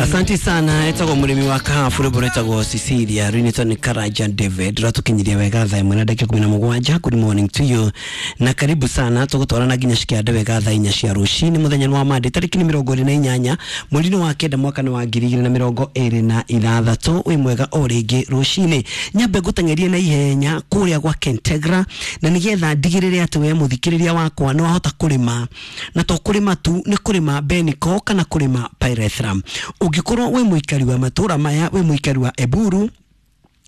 Asante sana. Etagwo mũrĩmi wa kahabu, rwĩmbo rwĩtagwo Cecilia, rwinĩtwo nĩ Karaja David. Rwatũkinyirie wega thaa 1 na ndagĩka 17. Good morning to you na karibu sana. Tũgũtwarana nginya cikĩande wega thaa 4 cia rũcinĩ. Mũthenya nĩ wa Monday, tarĩki nĩ 28 mweri-inĩ wa kenda, mwaka nĩ wa 2026. Wĩ mwega o rĩngĩ rũcinĩ. Nyambe ngũteng'erie na ihenya kũrĩa gwa Kentegra, na nĩgetha ndigĩrĩre atĩ we mũthikĩrĩria wakwa nĩ wahota kũrĩma, na to kũrĩma tu, nĩ kũrĩma Beniko kana kũrĩma Pyrethrum. Ũngĩkorwo wĩ mũikari wa matũra maya, wĩ mũikari wa Eburu,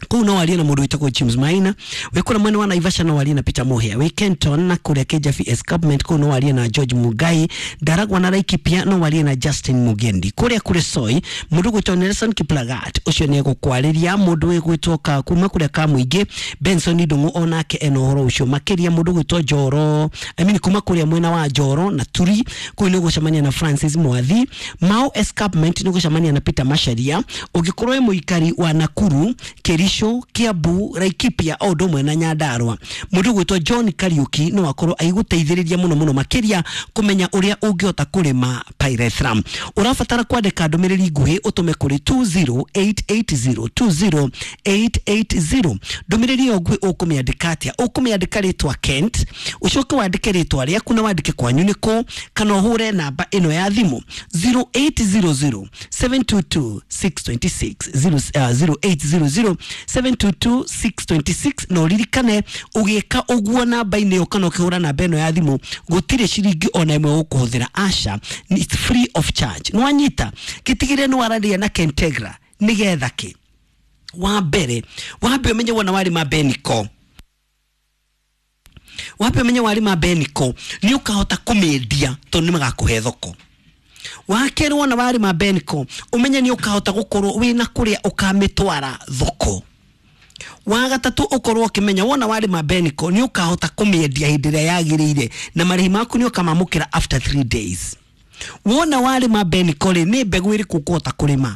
kũu no warie na mũndũ wĩtagwo James Maina. Wĩ kũrĩa mwena wa Naivasha, no warie na Peter Muhia. Wĩ Kenton na kũrĩa Kijabi Escarpment, kũu no warie na George Mugai. Ndaragwa na Laikipia, no warie na Justin Mugendi. Kũrĩa kũrĩ Soi, mũndũ gwĩtwo Nelson Kiplagat, ũcio nĩ egũkwarĩria. Mũndũ wĩgwĩtwo ka kuma kũrĩa ka mũingĩ, Benson Ndung'u, onake ena ũhoro ũcio makĩria. Mũndũ gwĩtwo Njoro, I mean, kuma kũrĩa mwena wa Njoro na Turi, kũu nĩ ũgũcemania na Francis Mwathi. Mau Escarpment, nĩ ũgũcemania na Peter Macharia. Ũngĩkorwo wĩ mũikari wa Nakuru, Kericho, Kiambu, Laikipia o ũndũ ũmwe na Nyandarua, mũndũ gwĩtwo John Kariuki no akorwo agĩgũteithĩrĩria mũno mũno makĩria kũmenya ũrĩa ũngĩhota kũrĩma pyrethrum. Ũrabatara kwandĩka ndũmĩrĩri nguhĩ ũtũme kũrĩ 20880, 20880. Ndũmĩrĩri ĩyo nguhĩ ũkũmĩandĩka atĩa? Ũkũmĩandĩka rĩtwa Kent, ũcoke wandĩke rĩtwa rĩaku na wandĩke kwanyu nĩkũ, kana ũhũre namba ĩno ya thimũ 0800 722 626, 0800 722 626. Na ũririkane, ũgĩka ũguo namba-inĩ ĩyo kana ũkĩhũra namba ĩno ya thimũ, gũtirĩ ciringi ona ĩmwe ũkũhũthĩra. Aca, it's free of charge. Nĩwanyita? Gĩtigĩre nĩ waranĩria na Kentegra. Nĩgetha kĩ? Wa mbere, wambe ũmenye wona warĩma Beniko, wambe ũmenye warĩma Beniko nĩ ũkahota kũmĩendia, tondũ nĩ magakũhe thoko. Wa kerĩ, wona warĩma Beniko, ũmenye nĩ ũkahota gũkorwo wĩna kũrĩa ũkamĩtwara thoko. Wa gatatũ, ũkorwo ũkĩmenya wona warĩma Beniko nĩ ũkahota kũmĩendia hĩndĩ ĩrĩa yagĩrĩire, na marĩhi maku nĩ ũkamamũkĩra after 3 days. Wona warĩma Beniko rĩ, nĩ mbegũ ĩrĩkũ ũkũhota kũrĩma?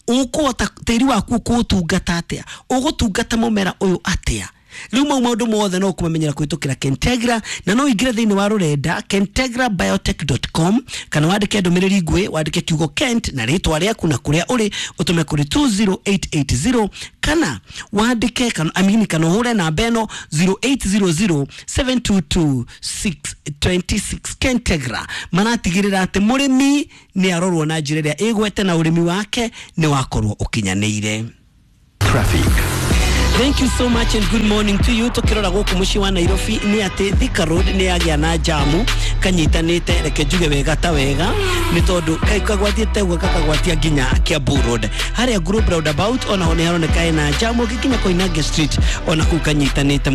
Ũkũhota tĩri waku ũkũũtungata atĩa? Ũgũtungata mũmera ũyũ atĩa? Rĩu mau maũndũ mothe no kũmamenyera kũhĩtũkĩra Kentegra, na no ũingĩre thĩinĩ wa rũrenda kentegrabiotech.com, kana wandĩke ndũmĩrĩri nguhĩ, wandĩke kiugo Kent na rĩtwa rĩaku na kũrĩa ũrĩ, ũtũme kũrĩ 20880, kana wandĩke kana, I mean, kana ũhũre namba ĩno 0800 722 626. Kentegra maratigĩrĩra atĩ mũrĩmi nĩ arorwo na njĩra ĩrĩa ĩgwete na ũrĩmi wake nĩ wakorwo ũkinyanĩire. Traffic. Thank you so much and good morning to you. Tukirora gũkũ mũciĩ wa Nairobi nĩ atĩ Thika Road nĩ yagĩa na jamu kanyitanĩte, reke njuge wega ta wega, nĩ tondũ kagwatĩte ũguo gakagwatia nginya Kiambu Road harĩa Globe Roundabout, onaho nĩ haroneka hena jamu. Ũgĩkinya Koinange Street, ona kũu kanyitanĩte.